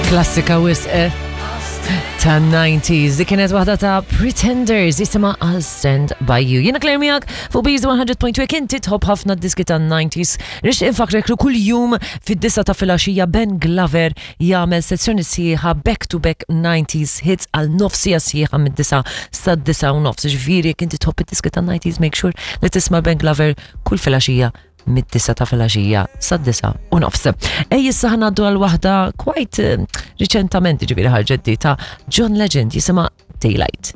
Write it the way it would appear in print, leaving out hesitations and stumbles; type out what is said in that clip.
Klassika wisq eh? ta' 90s. Di kienet waħda ta' Pretenders jisima I'll Stand By You. Jiena Claire miegħek fuq Bees 100.2 kien titħobb ħafna diski ta' 90s. Rix infakrek li kull jum fid-disa ta' filgħaxija Ben Glover jagħmel sezzjoni sħiħa back to back 90s hits għal nofsija sħiħa mid-disa sa' disa u nofs. Ġifieri jekk inti tħobb id-diski ta' 90s make sure li tisma' Ben Glover kull filgħaxija mid-disa ta' filgħaxija sad-disa u nofs. Ej issa ħanaddu għal waħda quite eh, riċentament ġifieri ħarġet di ta' John Legend jisimha Daylight.